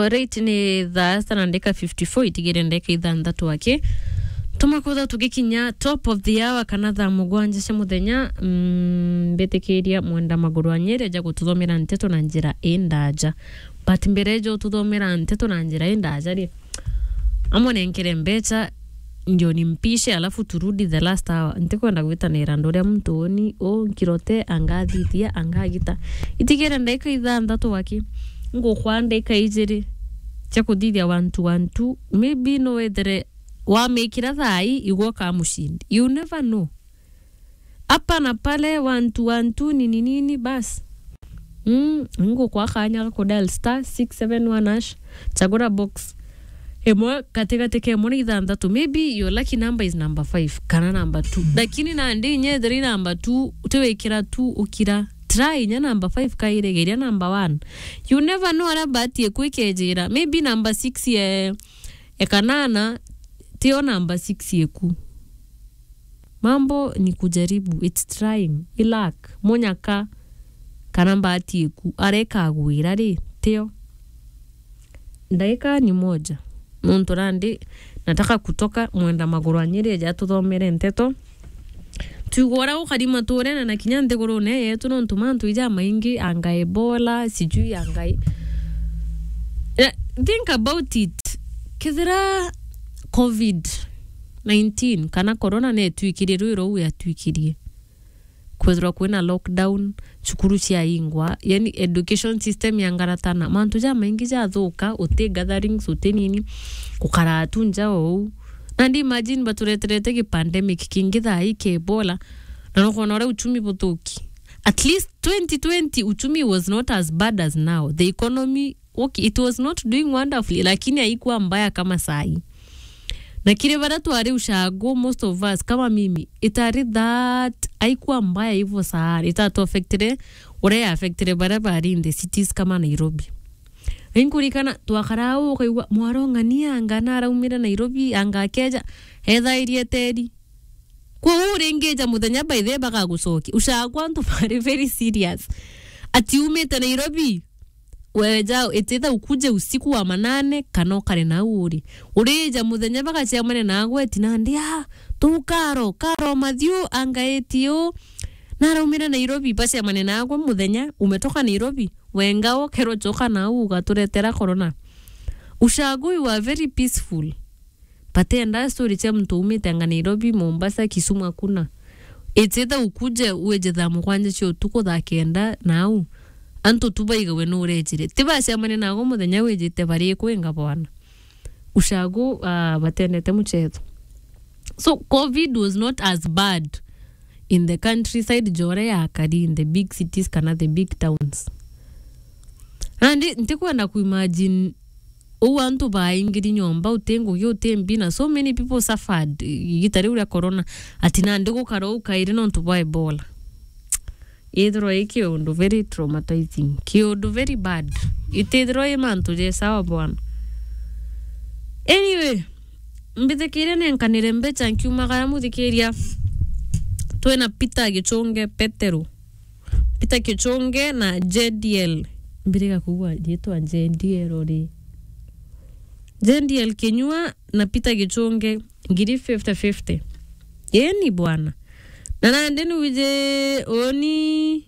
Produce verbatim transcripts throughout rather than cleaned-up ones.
Alright, ni thaa sita na ndagika fifty-four, itigire ndagika ithanthatu aki. Tuma kwitha tugikinya top of the hour kana thaa mugwanja cia muthenya, mm, mbitikiria mwenda maguru anyiri ja gututhomera nteto na njira indaja. But mbere jo tuthomera nteto na njira indaja ri, amwe nenkere mbecha, ndio nimpishe, alafu turudi the last hour. Ntikwenda gwitanira andu uria muntu uni u nkirote, angathithia, angagita. Itigire ndagika ithanthatu aki, ngukwa ndagika ijiri cia kuthithia one two one two. Maybe no wethire wamikira thaa ii, igwe ukamucindi. You never know. Hapa na pale, one two one two, nini nini, bas. Mm, ngukwa kanya ga kudial star six seven one hash, chagura box imwe katigati ka imwe na ithanthatu. Maybe your lucky number is number five kana number two. Lakini nandi inya ethira i number two, utiwikira two ukira. Try inya number five kairigeria number one. You never know aria bahati eku ikejira. Maybe number six ye, e kanana, tio number six eku. Mambo ni kujaribu, it's trying. I luck, munyaka, kana mbati iku, areka agwira ri, tio. Ndaika ni moja. Nontu nandi, nataka kutoka mwenda maguru anyiri eja tuthomere nteto. Tuigwa uria gukari maturene na kinya nthigurune yetu, nontu mantu ija maingi, anga Ebola, sijui anga i-, eh, think about it. Kethira covid nineteen kana corona netwikirie rwi rou yatwikirie, kwethirwa kwina lockdown, cukuru ciaingwa, yani education system yangaratana, mantu jamaingi jathuka, uti gatherings, uti nini, gukara tu nja ou. Nandi imagine batureterete gi pandemic kingi thaa ii kia Ebola, na nukona uria uchumi buthuki. At least twenty twenty uchumi was not as bad as now. The economy, okay, it was not doing wonderfully, lakini haikuwa mbaya kama saa hii. Na kiri baria twari ushago, most of us, kama mimi, itari that, haikuwa mbaya hivyo sana. Itatu affectire uria ya affectire baria bari in the cities kama Nairobi. Inkurikana twakara au, ukaigua mwarong'ania anga naraumire Nairobi, anga akeja, ethairie teri. Kwou uringija muthenya by the way bagagucokia. Ushagwa antu bari very serious. Ati umite Nairobi, weja, it's either ukuje usiku wa manane, kana ukare nau uri. Urija muthenya bagacemania nagwe, ati nandi, ah, tu karo, karo mathiu, anga eti u, naraumire Nairobi, bacemania nagwe muthenya, umetoka Nairobi, wenga ukerwo coka nau, ugaturetera corona. Ushago, you are very peaceful. Batenda story cia muntu umite anga Nairobi, Mombasa, Kisumu, hakuna. It's either ukuje wije thaa mugwanja cia utuku, thaa kenda, nau antu tu baigawe nu urejire. Ti bacemania nago muthenya wijite bari kwinga bwana. Ushago, ah, batendete muchezo. So, covid was not as bad in the countryside, jore yakari in the big cities kana the big towns. Nandi ntikwenda kuimagine uu antu baingiri nyomba, uti ngugi, uti mbi, na so many people suffered igita riu ria corona, ati nandi gukara uu kairi nontu bwa Ebola. Ithirwa i kiundu very traumatizing, kiundu very bad. Itithirwa i mantu je sawa bwana. Anyway, mbithikiria nenkanire mbecha nkiumagara muthikiria. Twina Peter Gichunge Petero. Peter Gichunge na J D L. Mbiriga kugua riitwa J D L ri. J D L Kinyua na Peter Gichunge, ngiri fifty fifty. Eni bwana. Na nandi nuwije uni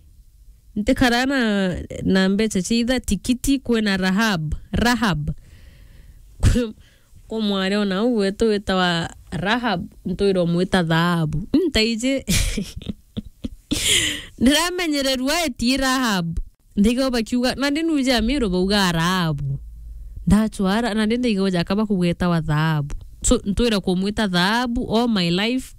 ntikara na, na mbecha cia itha tikiti kwina Rahab. Rahab. Kwa mwari ona uu wetu witawa Rahab, ntwirwa mwita Thahabu. Ntaiji. Ndiramenyererua eti Rahab. Ndaiga bakiuga, nandi nuija Amiru bauga Rahabu. Ndachwara, nandi ndaiga jaka bakugwetawa Thahabu. So, ntwira kumwita Thahabu all my life.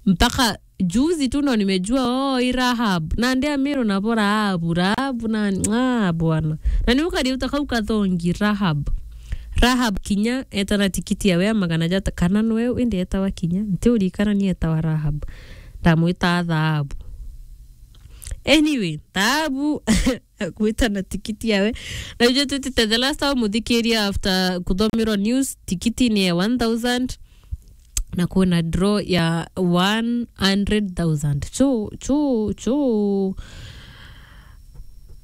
Mpaka juzi tu ndo nimejua, oh, i Rahab. Nandi Amiru nabo Rahabu, Rahabu nani? Ah, bwana. Na ni ukariuta kau kathongi, Rahab. Rahab kinya etana tikiti yawe ya magana jata, kana nwe indi etawa kinya. Ntiurikana ni etawa Rahab. Ndamwita Thahabu. Anyway, Thahabu gwita na tikiti yawe. Na ijo twitite the last time muthikiria after kuthomerwa news, tikiti ni ya one thousand na kwina draw ya one hundred thousand. Chu, chu, chu.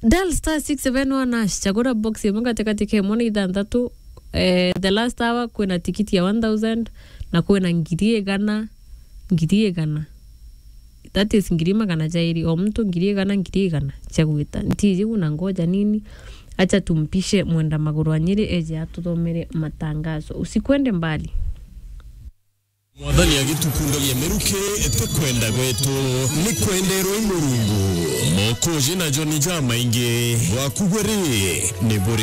Dial star six seven one hash, chagura box imwe katikati ka imwe na ithanthatu. Eh, the last hour kwina tikiti ya one thousand na kwina ngiri igana, ngiri igana. That is ngiri magana jairi, o muntu ngiri igana, ngiri igana cia gwita. Ntiji una ngoja nini, acha tumpishe Mwenda Maguru wa Nyeri eje atuthomere matangazo. Usikwende mbali. Mwathani agitukundagia miruki, ti kwenda gwetu, ni kwenderwa i Murungu. Mokoji na Joni jamaingi, bwaku bwe ri, ni buri